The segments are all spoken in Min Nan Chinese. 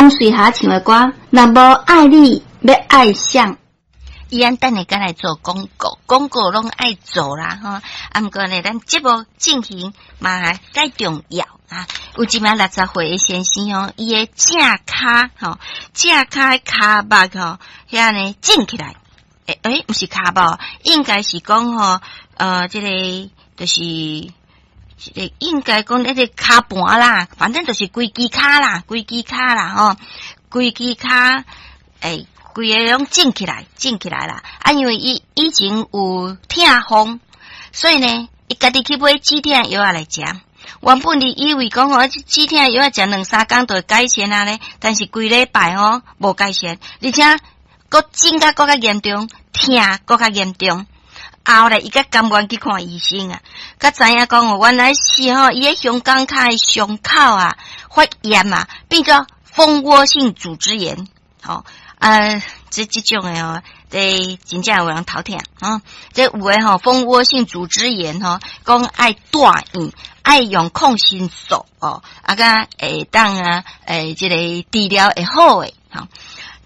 王瑞霞唱的歌，若無愛你，欲愛誰？伊按等下閣來做廣告，廣告攏愛做啦吼。啊，毋過呢，咱節目進行嘛較重要啊。有一名60歲的先生吼，伊的正跤吼，正跤的跤肉吼，遐呢腫起來。欸欸，毋是跤肉，應該是講吼，這个就是，這个應該講那個跤盤啦，反正就是規支跤啦，規支跤啦吼，規支跤欸。規个攏腫起來，腫起來啦！啊，因為伊以前有痛風，所以呢，伊家己去買止痛藥仔來食。原本伊以為講吼，止痛藥仔食兩三工就會改善啊咧，但是幾禮拜吼無改善，而且閣腫甲閣較嚴重，疼閣較嚴重。後來伊才甘願去看醫生啊，才知影講哦，原來是吼伊的胸肛跤的傷口啊發炎啊，變做蜂窩性組織炎，吼。啊，這種的哦，這真正有人頭疼啊！這有的吼，蜂窩性組織炎吼，講愛住院，愛用抗生素哦，啊，才會當啊，欸，這個治療會好的吼。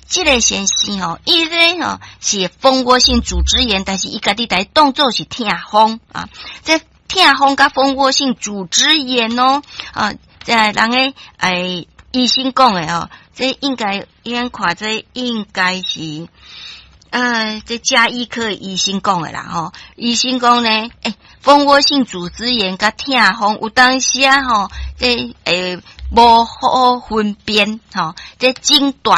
這个先生吼，伊咧吼是蜂窩性組織炎，但是伊家己來當做是痛風啊。這痛風佮蜂窩性組織炎哦，啊，這人的欸醫生講的哦。這應該，應看這應該是，這家醫科醫生講的啦吼。醫生講呢，欸，蜂窩性組織炎佮痛風有當時啊吼，這欸無好分辨吼，這診斷。